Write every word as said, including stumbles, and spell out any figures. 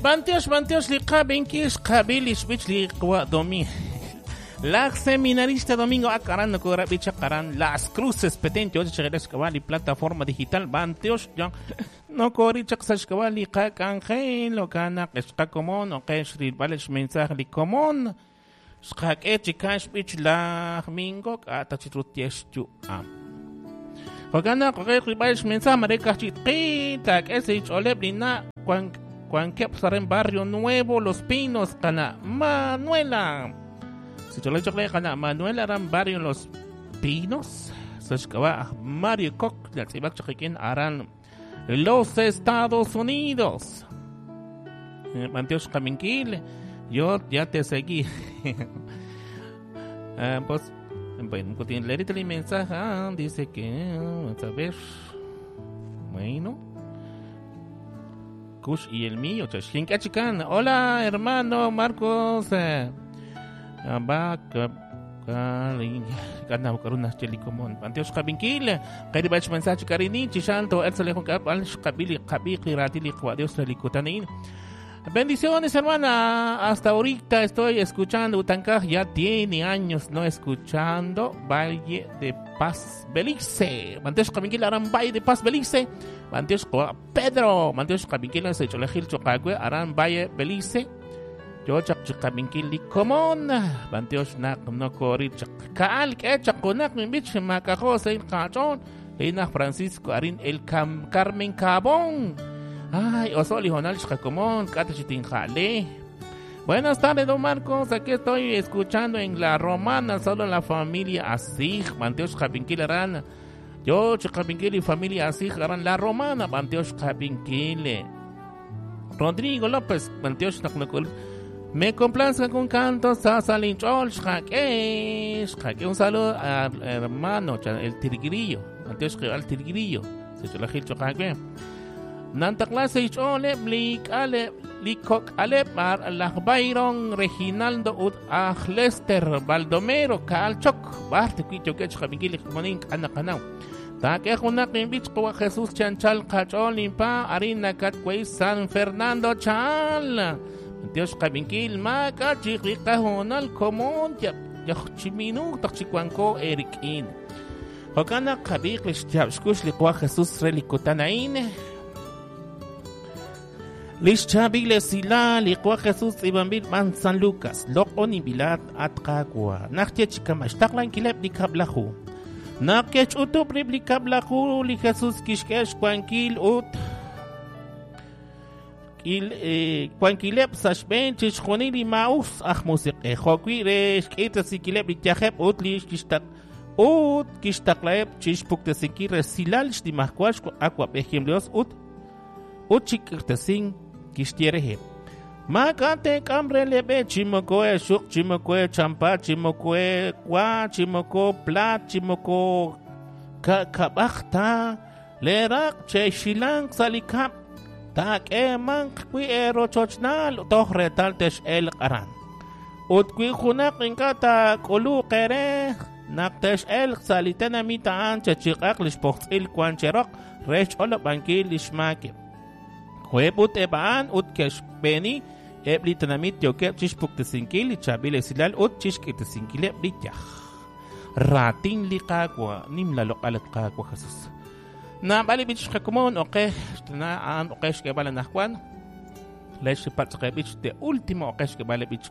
Bantiox, bantiox li qabinkil xqabil li xb'ich li qwa domi. Laj seminarista Domingo Akaran nokora bicha karan Las Cruces Petén yo li plataforma digital bantiox ya nokori chaq sa xk'ab'a li qak'anjel okana xqakomon oqex rilb'al xmensaje li komon xqak'e chikan xb'ich laj Mingo k'ata chitrutiex yu'am. Jokana qoqe rilb'al xmensaje mare kajchitqi tak'e sich'oleb lina Juan Juan Kepsaren Barrio Nuevo Los Pinos kana Manuela. Si chole kana Manuela aran Barrio Los Pinos sa Mario Koch la tz'ibak chaqikin aran Los Estados Unidos. Mantiox Kaminkil, yo ya te seguí. Ah, pues, bueno, leerite el mensaje, ah, dice que, vamos a ver, bueno, Kush y el mío, Chican. Hola, hermano Marcos. Eh, Bendiciones, hermana. Hasta ahorita estoy escuchando Utancaj. Ya tiene años no escuchando Valle de Paz Belice. Manteos Kabinkil Aran Valle de Paz Belice. Manteos Pedro. Manteos Kabinkil Secholejil Chocagüe Aran Valle Belice. Yo chak chikabinkil li komon. Manteos nak no kori chak kaal ke chakunak mi bich makajo sein kachon. Leina Francisco Arin el Cam Carmen Cabón. Ay, Osoli Jonal Xcacomón, Jale. Buenas tardes, don Marcos. Aquí estoy escuchando en La Romana, solo la familia Asig, Manteos Javinquil Arán. Yo, Chicapinquil y familia Asig Arán, La Romana, Manteos Javinquil. Rodrigo López, Manteos Nacnacol. Me complazca con cantos, Sasalinchol, Xaque, Xaque. Un saludo al hermano, el Tigrillo, Manteos al Tigrillo. Se cholajil Chocaque. Nantaklase ichole blik ale likok ale mar laj Byron Reginaldo ut aj Lester Baldomero Kaalchok barte kuito kech jamikili monin anakanaw take junak inbich kwa Jesus chanchal kachol impa arina katkwei San Fernando chal Dios kabinkil maka chiqriqahunal komon ya chiminu tachikwanko erikin Jokana kabiq lixchabxkush liqwa Jesus relikutanain Lixchabile sila liqwa Jesus ibambil man San Lucas loqon ibilat atqaqwa naxtech kamaxtaqlan kileb likablahu nakech utub rib likablahu li Jesus kixkex kuankil ut il kuankileb saxben chixjunil maus aj musiqe joqwi rex k'itasikileb lityajeb ut lixkixtaq ut kixtaqlaeb chixpuktesikil resilal xtimajkuax akwab'ejim Dios ut ut chikirtesin kixtiereje. Makate kambre lebe chimokoe shuk chimokoe champa chimokoe kwa chimoko plat chimoko kakabajta lerak che shilang salikap tak eman kwi ero chochnal toh retal tesh el qaran. Ut kwi junak inkata kulu kere nak tesh el salitena mitaan chechiqaq lishpoxil kwancherok rech olobankil lishmake. Juebut ebaan ut keshbeni ebli tanamit yokeb chishpuktesinkil chabil esilal ut chishkitesinkil ebli yaj. Ratin liqaqwa nimla loqalat qaqwa Jesus. Na bali bich qakumon oqe na an oqesh kebala najwan. Lesh patqebich de último oqesh kebala bich